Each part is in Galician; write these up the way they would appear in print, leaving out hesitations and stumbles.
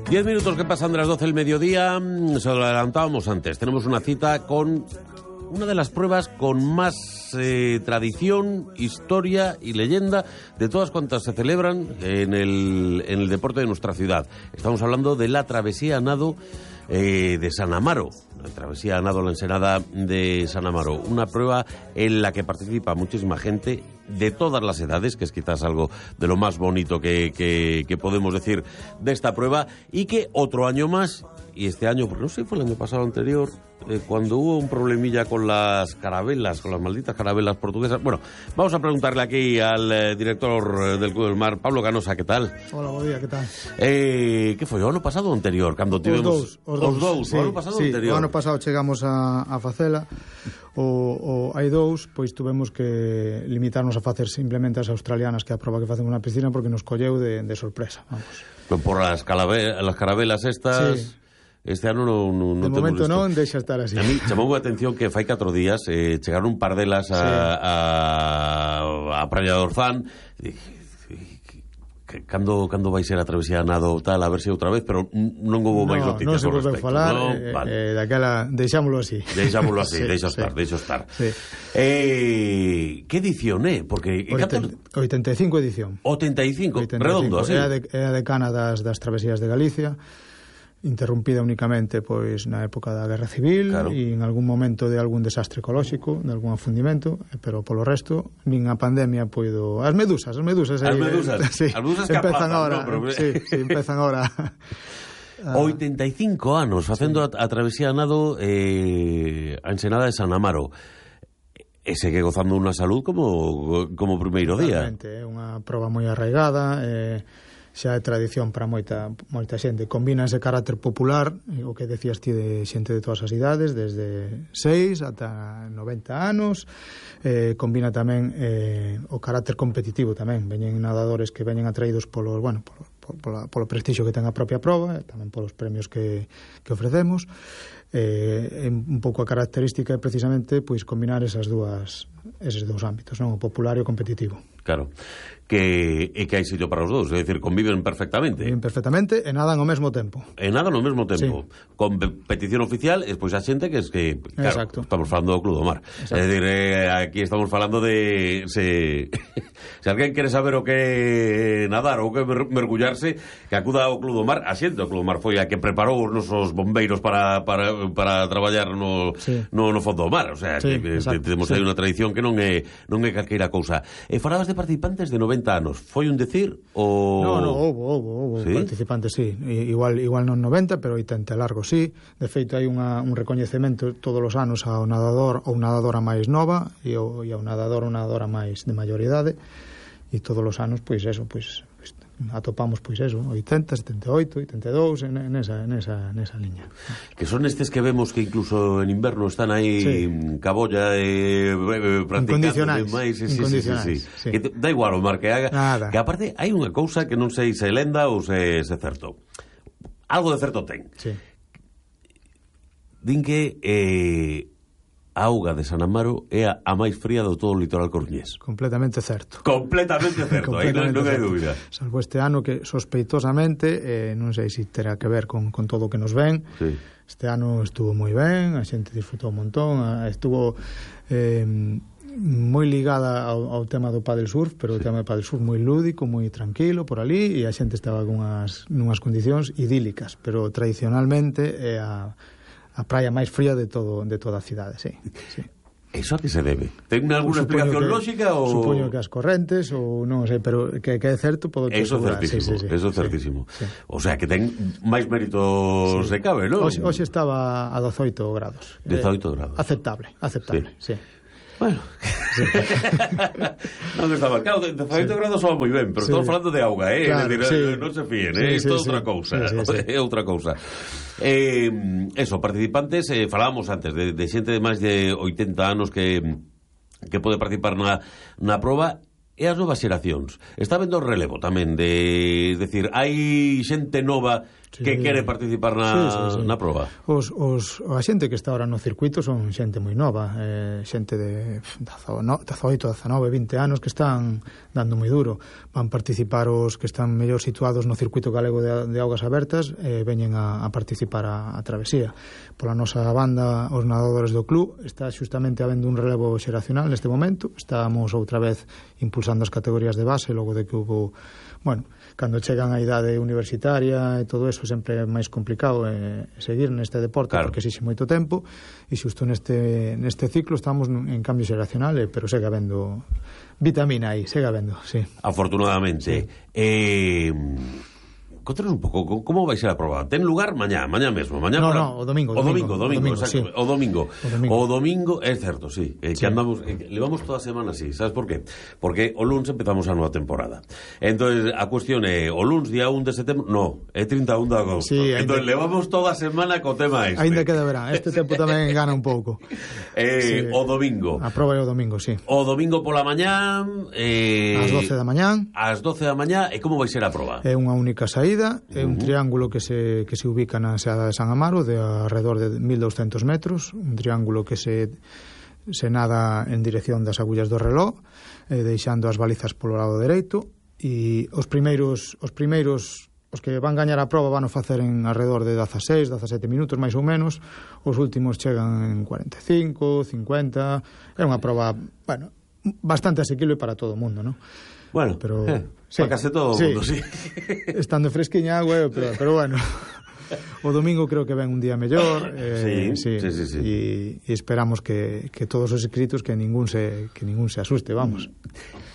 10 minutos que pasan de las 12 del mediodía, se lo adelantábamos antes. Tenemos una cita con una de las pruebas con más tradición, historia y leyenda de todas cuantas se celebran en el deporte de nuestra ciudad. Estamos hablando de la travesía a nado de San Amaro, la travesía a nado la Ensenada de San Amaro, una prueba en la que participa muchísima gente de todas las edades, que es quizás algo de lo más bonito que podemos decir de esta prueba, y que otro año más, y este año, no sé, fue el año pasado anterior, cuando hubo un problemilla con las carabelas, con las malditas carabelas portuguesas. Bueno, vamos a preguntarle aquí al director del Club del Mar, Pablo Canosa, ¿qué tal? Hola, buen día, ¿qué tal? ¿Qué foi? O ano pasado ou anterior? Cando tivemos... Os dous. Sí, o ano pasado sí, anterior. O ano pasado chegamos a facela, hai dous, pois tuvemos que limitarnos a facer simplemente as australianas, que é a prova que facemos na piscina, porque nos colleu de sorpresa, vamos. Por las carabelas estas... Sí. Este ano non de momento non, deixa estar así. A mí chamou a atención que fai 4 días chegaron un par delas a Praia do Orzán. Cando vai ser a travesía a nado tal, a ver se outra vez, pero non houve máis noticias. Non se volveu falar, vale. Daquela deixámoslo así. Deixámoslo así, deixa estar. Sí. Que edición é? Porque 85 edición. 85, redondo, así. É a decana das travesías de Galicia, interrumpida únicamente pois na época da Guerra Civil, claro. E en algún momento de algún desastre ecolóxico, de algún afundimento, pero polo resto nin a pandemia poido... As medusas sí, empezan ahora, no, pero... sí, empezan ahora. 85 anos facendo a travesía a nado a Ensenada de San Amaro. E segue gozando unha salud como primeiro día. Realmente, é unha proba moi arraigada, xa é tradición para moita xente. Combina ese carácter popular, o que decías ti, de xente de todas as idades, desde 6 ata 90 anos. Combina tamén o carácter competitivo tamén. Veñen nadadores que veñen atraídos polo polo prestixio que ten a propia proba, tamén polos premios que ofrecemos. Un pouco a característica é precisamente pois combinar eses dous ámbitos, non? O popular e o competitivo. Claro, que hai sitio para os dous, é dicir, conviven perfectamente. Conviven perfectamente e nadan ao mesmo tempo. E nadan ao mesmo tempo. Sí. Competición oficial, e despois a xente que claro, exacto. Estamos falando do Club do Mar. É dicir, aquí estamos falando de... Se alguén quere saber o que nadar ou que mergullarse, que acuda ao Club do Mar. A xente do Club do Mar foi a que preparou os nosos bombeiros para traballar no fondo do mar. O sea, sí, que temos aí unha tradición que non é calqueira cousa. E falabas de participantes de 90 anos. Foi un decir ou... No, houve ¿sí? Participantes, sí. Igual non 90, pero 80 largo, sí. De feito, hai un recoñecemento todos os anos ao nadador ou nadadora máis nova e ao nadador ou nadadora máis de maior idade. E todos os anos, pois eso, atopamos, pois eso, 80, 78, 82, nesa liña. Que son estes que vemos que incluso en inverno están aí sí. Cabolla practicando máis. Sí. Que da igual o mar que haga. Nada. Que aparte hai unha cousa que non sei se lenda ou se certo. Algo de certo ten. Sí. Din que a auga de San Amaro é a máis fría do todo o litoral coruñés. Completamente certo. Aí non hai dúbida. Salvo este ano que sospeitosamente, non sei se terá que ver con todo o que nos ven, sí. Este ano estuvo moi ben, a xente disfrutou un montón, estuvo moi ligada ao tema do paddle surf, pero sí. O tema do paddle surf moi lúdico, moi tranquilo por ali, e a xente estaba nunhas condicións idílicas, pero tradicionalmente é a praia máis fría de toda a cidade, sí. Eso a que se debe? Ten alguna explicación lógica ou... Supoño que as correntes ou non sei, pero que é certo podo te asegurar. Eso é certísimo. Sí. O sea, que ten máis méritos se cabe, non? Hoxe estaba a 18 grados. 18 grados. Aceptable, sí. Bueno, sí. Non está mal. Claro, 18 grados soa moi ben, pero sí. Estamos falando de auga, claro, sí. Non se fíen, isto é outra cousa. É outra cousa. Eso, participantes, falábamos antes de xente de máis de 80 anos que pode participar na proba, e as novas xeracións. Está vendo o relevo tamén de decir, hai xente nova que quere participar na proba. A xente que está ahora no circuito son xente moi nova, xente de 18, 19, 20 anos que están dando moi duro. Van participar os que están mellor situados no circuito galego de augas abertas, veñen a participar a travesía. Pola nosa banda, os nadadores do club, está xustamente habendo un relevo xeracional neste momento. Estamos outra vez impulsando as categorías de base, logo de que hubo, bueno, cando chegan a idade universitaria e todo eso sempre é máis complicado seguir neste deporte, claro, porque exixe moito tempo, e xusto neste ciclo estamos en cambio xeracional, pero segue habendo vitamina aí, segue habendo, sí. Afortunadamente. Sí. Contanos un pouco, como vai ser a proba? Ten lugar mañá mesmo, mañá No, o domingo, exacto, sí. O domingo, é certo, sí, sí. Que andamos, levamos toda a semana así, sabes por qué? Porque o luns empezamos a nova temporada. Entonces, a cuestión é, o luns día 1 de setembro, no, é 31 de agosto. Sí, entonces, levamos toda a semana co tema este. Ainda queda verán, este tempo tamén gana un pouco. Sí. O domingo. A proba é o domingo, sí. O domingo pola mañá, ás 12 da mañá. Ás 12 da mañá, e como vai ser a proba? É unha única saída. É un triángulo que se ubica na Seada de San Amaro de alrededor de 1200 metros, un triángulo que se nada en dirección das agullas do reloj, deixando as balizas polo lado dereito, e os primeiros os que van gañar a proba van a facer en alrededor de 16, 17 minutos máis ou menos, os últimos chegan en 45, 50, é unha proba, bueno, bastante asequible para todo o mundo, non? Bueno, pero sí, para case todo o mundo, sí. Estando fresquiña agua, pero bueno, o domingo creo que ven un día mellor, sí. E esperamos que todos os inscritos que ningún se asuste, vamos.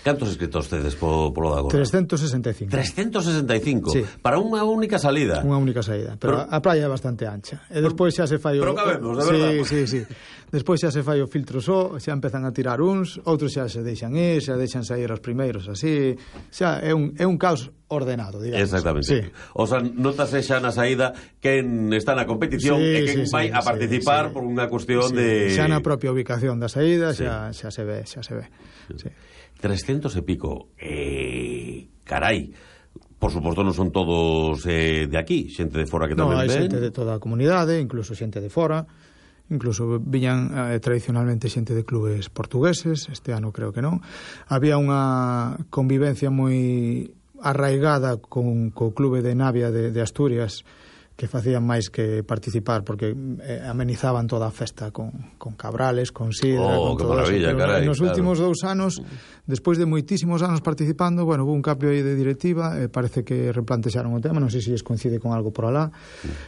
Cantos inscritos tedes polo de agora? 365. 365? Sí. Para unha única salida? Unha única saída, pero a praia é bastante ancha. E despois xa se fai Pero cabemos, de verdade. Sí. Despois xa se fai o filtro só, xa empezan a tirar uns, outros xa se deixan ir, xa deixan sair os primeiros así, xa é un caos ordenado, digamos. Exactamente. Sí. O sea, notase xa na saída quen está na competición e quen vai a participar por unha cuestión de... Xa na propia ubicación da saída, xa se ve. Sí. 300 e pico. Carai. Por suposto non son todos de aquí, xente de fora que tamén ven. Non, hai xente de toda a comunidade, incluso xente de fora. Incluso viñan tradicionalmente xente de clubes portugueses, este ano creo que non. Había unha convivencia moi arraigada co clube de Navia de Asturias, que facían máis que participar, porque amenizaban toda a festa con cabrales, con sidra, con todo maravilla, eso. Carai, nos últimos 2 anos, despois de moitísimos anos participando, bueno, hubo un cambio aí de directiva, parece que replantexaron o tema, non sei se les coincide con algo por alá,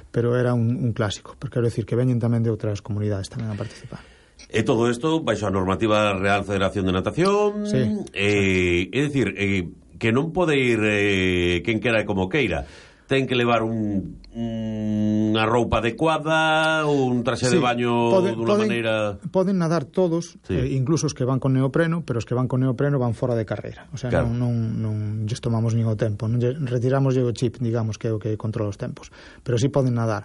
pero era un clásico, porque quero decir que veñen tamén de outras comunidades tamén a participar. E todo isto baixo a normativa Real Federación de Natación, sí, é dicir, que non pode ir quen quera e como queira. Ten que levar unha roupa adecuada, un traxe de baño dunha maneira... Poden nadar todos, incluso os que van con neopreno, pero os que van con neopreno van fora de carreira. O sea, claro, non lles tomamos nin o tempo, non retiramos o chip, digamos, que é o que controla os tempos. Pero sí poden nadar.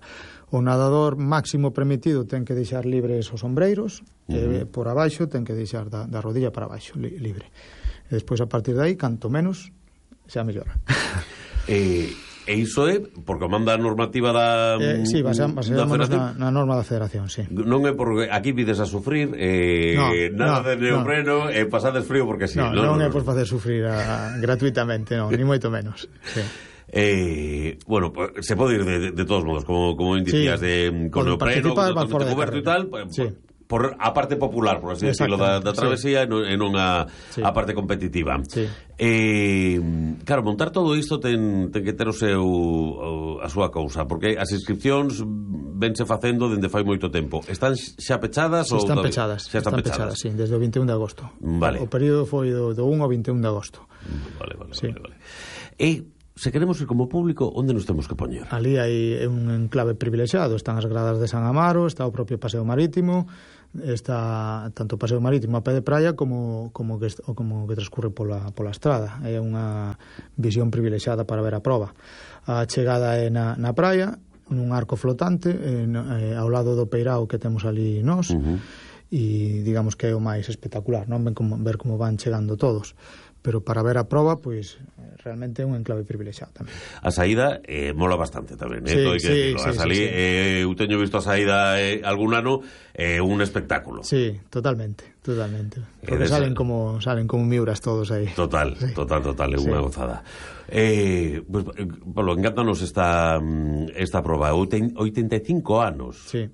O nadador máximo permitido ten que deixar libres os ombreiros, por abaixo ten que deixar da rodilla para abaixo, libre. E despois, a partir de aí, canto menos, xa mellora. E iso é porque manda a normativa da sí, baseamos na norma da Federación, sí. Non é porque aquí vides a sufrir nada de neopreno e pasades frío porque sí. Non é por facer sufrir gratuitamente, non, ni moito menos. Sí. Bueno, se pode ir de todos modos, como indicías, con neopreno, con coberto e tal, sí, por a parte popular, por así decirlo, da travesía, e non a parte competitiva. Sí. Claro, montar todo isto ten que ter a súa cousa, porque as inscripcións vense facendo dende fai moito tempo. Están xa pechadas? Están pechadas, sí, desde o 21 de agosto. Vale. O período foi do 1 ao 21 de agosto. Vale. E se queremos ir como público, onde nos temos que poñer? Ali hai un enclave privilexiado, están as gradas de San Amaro, está o propio Paseo Marítimo, está tanto o Paseo Marítimo a pé de praia como que transcurre pola estrada. É unha visión privilexiada para ver a proba. A chegada é na praia, nun arco flotante, ao lado do peirao que temos ali nós, e digamos que é o máis espectacular, non? Ver como van chegando todos. pero para ver a proba, pois realmente é un enclave privilexiado tamén. A saída mola bastante tamén, Sí. Eu teño visto a saída algún ano, un espectáculo. Sí, totalmente. Porque salen como miuras todos aí. Total, é unha gozada. Pues, Pablo, encántanos esta proba, 85 anos. Sí.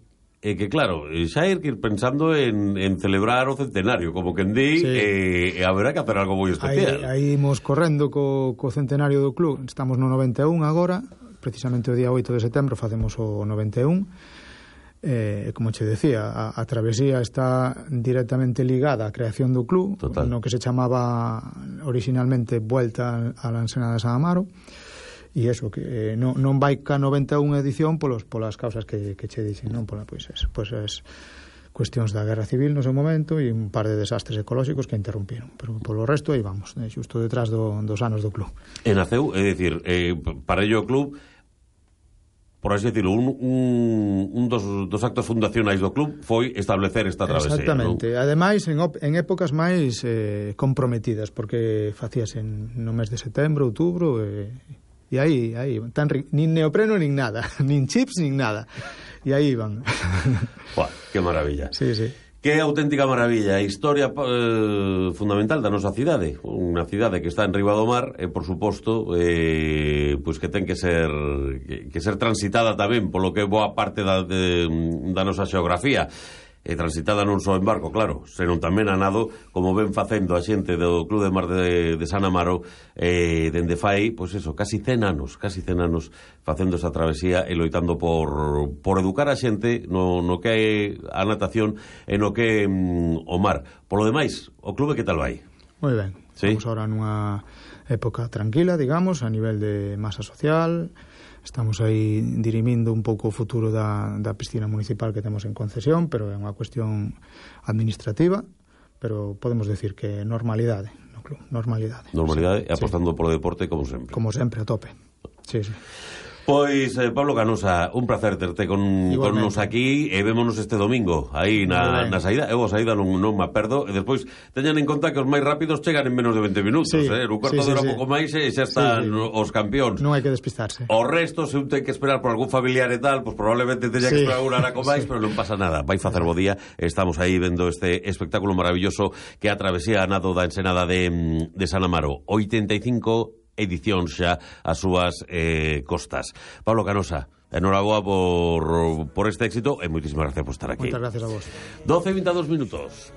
Que claro, xa hai que ir pensando en celebrar o centenario, como quen di, haberá que hacer algo moi especial. Aí imos correndo co centenario do club. Estamos no 91 agora, precisamente o día 8 de setembro facemos o 91. Como che decía, a travesía está directamente ligada á creación do club. Total. No que se chamaba originalmente Vuelta a la Ensenada de San Amaro. E iso, que non vai ca 91 edición polas causas que che dixen, non? Pois as cuestións da guerra civil no seu momento e un par de desastres ecolóxicos que interrumpiron, pero polo resto aí vamos, xusto detrás dos anos do club. E naceu, é dicir, para ello o club, por así decirlo, un dos actos fundacionais do club foi establecer esta travesía. Exactamente, ¿no? Ademais en épocas máis comprometidas, porque facíase no mes de setembro, outubro, e aí nin neopreno nin nada, nin chips nin nada, e aí iban. Buah, que maravilla. Sí. Que auténtica maravilla, historia fundamental da nosa cidade, unha cidade que está en riba do mar, e por suposto, pois que ten que ser transitada tamén polo que é boa parte da nosa xeografía. Transitada non só en barco, claro, senón tamén a nado, como ven facendo a xente do Club de Mar de San Amaro, dende fai, pois eso, casi 100 anos facendo esa travesía e loitando por educar a xente no que é a natación e no que é o mar. Polo demais, o clube que tal vai? Moi ben, estamos ahora nunha época tranquila, digamos, a nivel de masa social. Estamos aí dirimindo un pouco o futuro da piscina municipal que temos en concesión, pero é unha cuestión administrativa, pero podemos decir que normalidade no club, normalidade, e apostando polo deporte como sempre. Como sempre, a tope. Sí. Pois, Pablo Canosa, un placer terte con nos aquí, e vémonos este domingo aí na saída. Eu a saída non me perdo, e despois teñan en conta que os máis rápidos chegan en menos de 20 minutos, un cuarto de hora pouco máis e xa están os campións. Non hai que despistarse. O resto, se un ten que esperar por algún familiar e tal, pois probablemente teña que esperar unha hora con máis, pero non pasa nada, vai facer bo día. Estamos aí vendo este espectáculo maravilloso que a travesía a nado da Ensenada de San Amaro. 85 edición xa as súas costas. Pablo Canosa, enhoraboa por este éxito e moitísimas gracias por estar aquí. Moitas gracias a vos. 12:22 minutos.